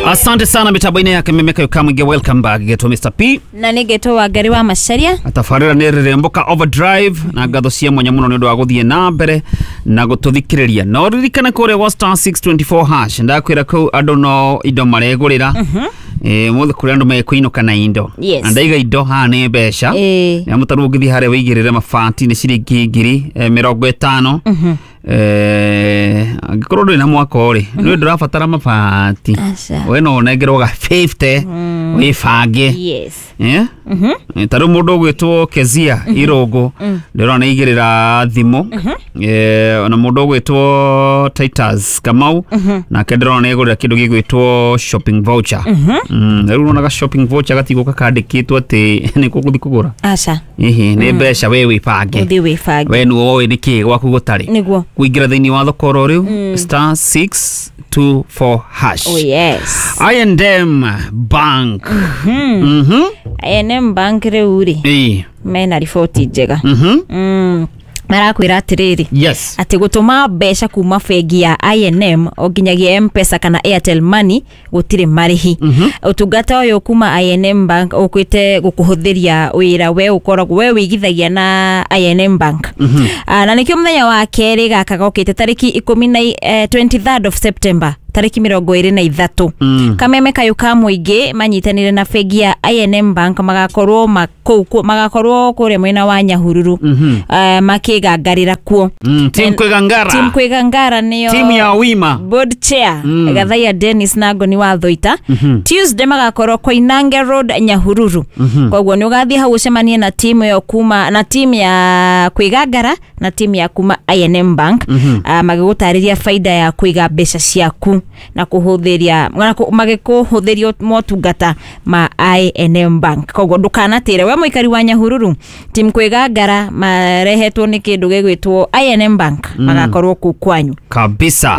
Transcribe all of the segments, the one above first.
Asante sana mitambo-inĩ ya Kameme kayo kamwinge, welcome back getwo Mr P. Na nĩ ngetwo Wangari wa Macharia. Tabarĩra nĩ rĩrĩmbũka overdrive na ngatho cia mwanya mũno nĩ ũndũ wa gũthiĩ na mbere na gũtũthikĩrĩria. No ririkane kũrĩa gwa star 624 hash, ndakwĩra kũu andũ no indo maregũrĩra. Mũthĩ kũrĩa andũ mekũinũka na indo. Yes. Na ndaiga indo haha nĩ mbeca. Nĩ mũtarũ ũngĩthiĩ harĩa wĩigĩrĩre mabati nĩ ciringi ngiri 50. Angĩkorwo ndũrĩ na mwaka rĩ, nĩ ndũrabatara mabati. Aca. We no ũnengerwo ga 50 wĩbange. Yes. Ta rĩu mũndũ ũgwĩtwo Kezia Irũngũ ndĩrona nĩ aigĩrĩra thimũ. Ona mũndũ ũgwĩtwo Titus Kamau nake ndĩrona nĩ agũrĩra kĩndũ gĩgwĩtwo shopping voucher. Rĩu ũronaga shopping voucher gatigũka kandĩkĩtwo atĩ nĩ gũgũthiĩ kũgũra. Aca. Ĩhĩ, nĩ mbeca we wĩbange. Ũthiĩ wĩbange. We nĩwe ũĩ nĩkĩ gwaku gũtarĩ. Nĩguo. Kũingĩra thĩinĩ wa thoko oro rĩu star 624 hash. Oh yes. I&M Bank. I&M Bank rĩu rĩ, mena riboti njega. Marakwĩra atĩrĩrĩ, Yes. atĩ gũtũma mbeca kuma bengi ya I&M o nginyagia M-Pesa kana Airtel Money gũtirĩ marĩhi. Ũtungata ũyũ kuma I&M Bank ũkĩte gũkũhũthĩria wĩra we ũkoragwo we wĩigithagia na I&M Bank. Na nĩkĩo mũthenya wa kerĩ gaka gokĩte tarĩki ikũmi na 23rd of September, tarĩki 23, Kameme kayũ ka mũingĩ manyitanĩire na bengi ya I&M Bank magakorwo magakorwo kũrĩa mwena wa Nyahururu, makĩgangarĩra kuo. Team Kwĩgangara. Team Kwĩgangara nĩyo Team ya Wima. Board chair Gathaiya Dennis na Ngoni wa Thoita. Tuesday magakorwo Koinange Road, Nyahururu. Koguo nĩ ũgathiĩ hau ũcemanie na team ĩyo kuma na team ya Kwĩgangara na team ya kuma I&M Bank, magĩgũtarĩria faida ya kũiga mbeca ciaku na kũhũthĩria na magĩkũhũthĩria motungata ma I&M Bank. Koguo ndũkanatĩre we mũikari wa Nyahururu, team Kwĩgangara marehetwo nĩ kĩndũ gĩgwĩtwo I&M Bank, magakorwo kũu kwanyu. Kabisa.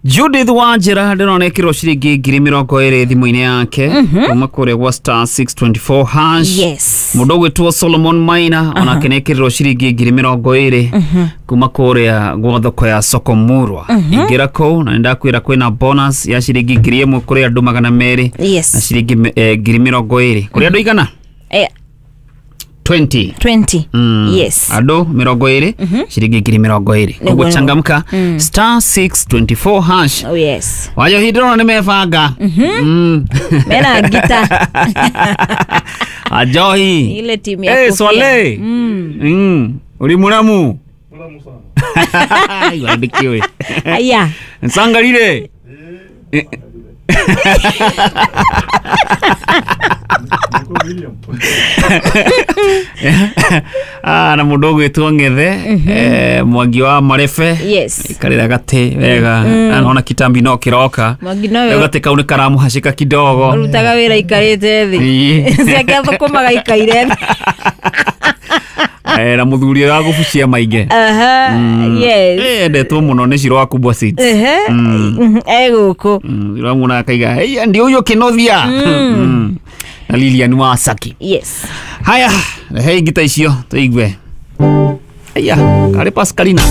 Judith Wanjira ndĩrona ĩkĩrwo ciringi ngiri 20 thimũ-inĩ yake kuma kũrĩa gwa star 624 hash. Yes. Mũndũ ũgwĩtwo Solomon Maina onake nĩ ekĩrirwo ciringi ngiri 20 kuma kũrĩa gwa thoko ya Soko Murwa. Ingĩra kũu na nĩndakwĩra kwĩna bonus ya ciringi 1000 kũrĩ andũ 200 na ciringi ngiri 20 kũrĩ andũ igana? 20. 20. Yes. Andũ 20 ciringi ngiri 20. Koguo changamka star 624 hash. Oh yes. Wajohi ndĩrona nĩ mebanga. Mena ngita. Ajohi. Ile timu ya Hey, kofia. Swale. Uri muramu. Muramu sana. Iwandikiwe. Aya. Nsangarire. Na mũndũ ũgwĩtwo Ng'ethe, Mwangi wa Marebe. Yes. Ikarĩra gatĩ wega. Ona kitambi no kĩroka. Mwangi nowe Rĩu gatĩ kau nĩ karamũhacĩka kidogo. Ũrutaga wĩra ikarĩte thĩ. Ciake athũkũmaga ikaire thĩ. Na mũthuri ũrĩa wa gũbucia maingĩ. Aha. Yes. Endetwo mũno nĩ Shiro wa Kubwa Seeds. Ehe. Egũkũ. Ũramuona akaiga, "Hey, ndio huyo Kenothia." Na Lilian wa Saki. Yes. Haya, rehei ngita icio tũigue. Aya, karĩ Pascalina.